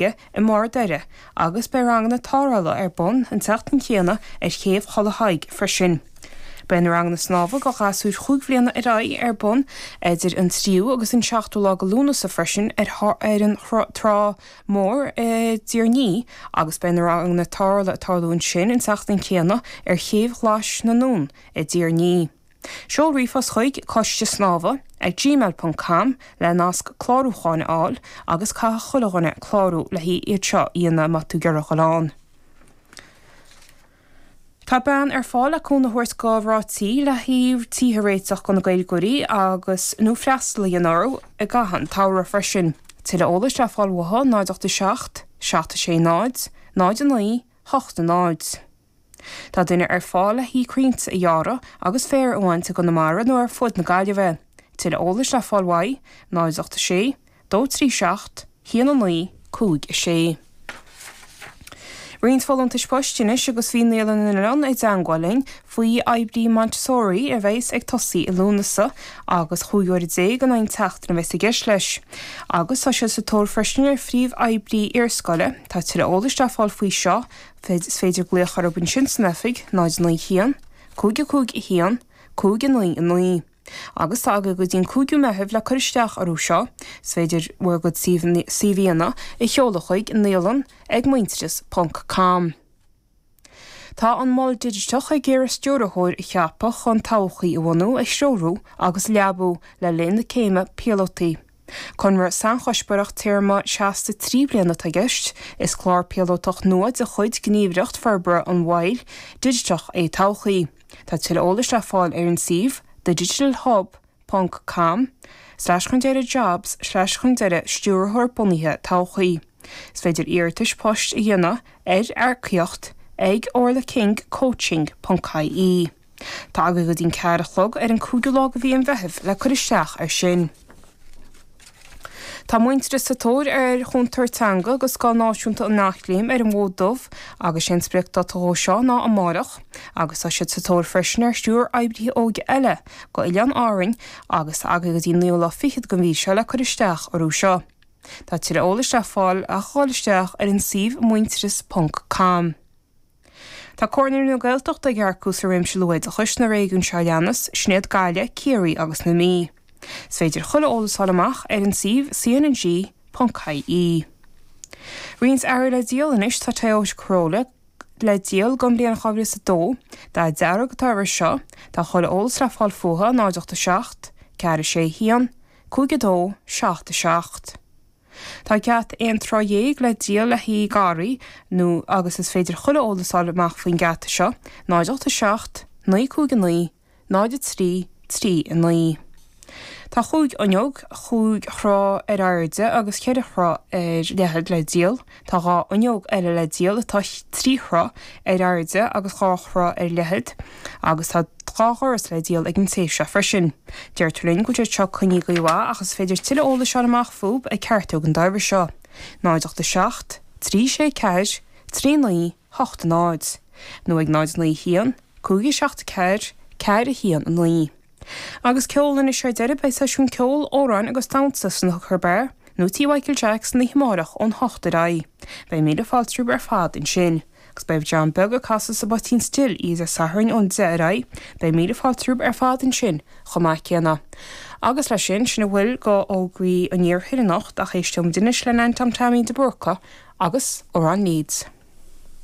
I mBarr Doire agus beidh ranganna tarrthála ar bun an tseachtain chéanna ar Chéibh Thulaigh Thaidhg freisin. Beidh na ranganna snámha do ghasúir chúig bhliana ar aghaidh ar bun idir an tríú agus an seachtú lá de Lúnasa freisin ar an Trá Mhór i dTír an Fhia agus beidh na ranganna tarrthála ag tarlú ansin an tseachtain chéanna ar Chéibh Ghlais na nDún i dTír an Fhia. Seol ríomhphost chuig coiste snámha ag gmail ponc com le nasc clárúcháin a fháil agus caithfidh chuile dhuine clárú le iad seo a dhéanamh má tá tú ag iarraidh dhul ann. Tá bean ar fáil le cúnamh a thabhairt do mhná tí le haghaidh tithe a réiteach do na Gaeilgeoirí agus nó freastal a dhéanamh orthu i gcaitheamh an tsamhraidh freisin. Tuilleadh eolais le fáil uathu 0 8 7 7 6 0 0 9 8 0. Tá duine ar fáil le haghaidh crainnte a ghearradh agus féar a bhaint i gConamara nó ar fud na Gaillimhe. Tuilleadh eolais le fáil uaidh, 0 8 6 2 3 7 1 9 5 6. Roinnt folúntais poist anois agus bhí Naíolann na nOileán i dteangmháil linn faoi oibrí Montessori a bheas ag tosaí i Lúnasa agus 15 uair in aghaidh an tseachtain a bheas i gceist leis. Agus tá siad sa tóir freisin ar phríomh-oibrí iarscoile. Tá tuilleadh eolais le fáil faoi seo Is féidir glaoch orthu ansin san oifig, 0 9 1, 5 5 1, 5 9 9. Agus tá agaibh go dtí an 5ú Meitheamh le cur isteach orthu seo. Is féidir bhur gcuid CVanna a sheoladh chuig naíolann ag muintearas ponc com. Tá an Mol Digiteach ag iarraidh stiúrthóir a cheapadh chun Todhchaí a bhunú, a threorú agus a leabú le linn na céime píolótaí. Conradh sainchuspóireach téarma seasta 3 bliana atá i gceist. Is clár píolótach nua de chuid Gníomhaireacht Forbartha an Mhoil Dhigiteach é Todhchaí. Tá tuilleadh eolais le fáil ar an suíomh thedigitalhub ponc com slash chun deireadh jobs slash chun deireadh stiúrthóir bunaithe todhchaí. Is féidir iarratais poist a dhéanamh ar earcaíocht ag orlakingcoaching ponc ie. Tá agaibh go dtí an ceathair a chlog ar an 5ú lá de mhí an Mheithimh le cur isteach air sin. Tá Muintearas sa tóir ar chúntóir teanga do Scoil Náisiúnta an Eachléim ar an bhFód Dubh agus sé an spriocdáta dhó seo ná amárach agus tá siad sa tóir freisin ar thriúr oibrithe óige eile go Oileáin Árainn agus tá agaibh go dtí an naoú lá fichead den mhí seo le cur isteach orthu seo. Tá tuilleadh eolais le fáil ach dhul isteach ar an suíomh muintearas ponc com. Tá Comhairle na Gaeltachta ag earcú sa réimse luathoideachais sna réigiúin seo a leanas, sin iad Gaillimh, Ciarraí agus na Mí. Is féidir chuile eolas a fháil amach ar an suíomh cng.ie. Roinnt earraí le díol anois, tá Toyota Corolla le díol don bhliain 2002, dath dearg atá air seo, tá chuile eolas le fáil fúthu, 0 8 7 4 6 1 5 2 7 7. Tá geata aon troigh le díol le haghaidh garraí nó agus is féidir chuile eolas a fháil amach faoin geata seo, 0 8 7 9 5 9 0 3 3 9. Tá chúig fhuinneog, chúig throigh ar airde agus cheithre throigh ar leithead le díol. Tá dhá fhuinneog eile le díol atá trí throigh ar airde agus dhá throigh ar leithead agus tá dhá dhoras le díol ag an té seo freisin. Deirtear linn go bhfuil siad seo coinnithe go maith ach is féidir tuilleadh eolais a fháil amach fúthu ag ceartú an dairbhre seo, 0 8 7 3 6 4 3 9 8 0 nó ag 0 9 1 5 7 4 4 1 9. Agus ceol anois ar deireadh, beidh seisiún ceoil, amhráin agus damhsa san Hooker Bar, nó Tí Mhichael Jack san oíche amárach ón hocht ar aghaidh. Beidh míle fáilte romhaibh ar fad ansin. Agus beidh John Beag ag casadh sa bPoitín Stil oíche Dé Sathairn ón deich ar aghaidh. Beidh míle fáilte romhaibh ar fad ansin chomh maith céanna. Agus leis sin, sin a bhfuil go fhógraí an iarthair anocht ach éisteoimid anois le Nan Tom Taimín de Búrca agus Amhrán Leeds.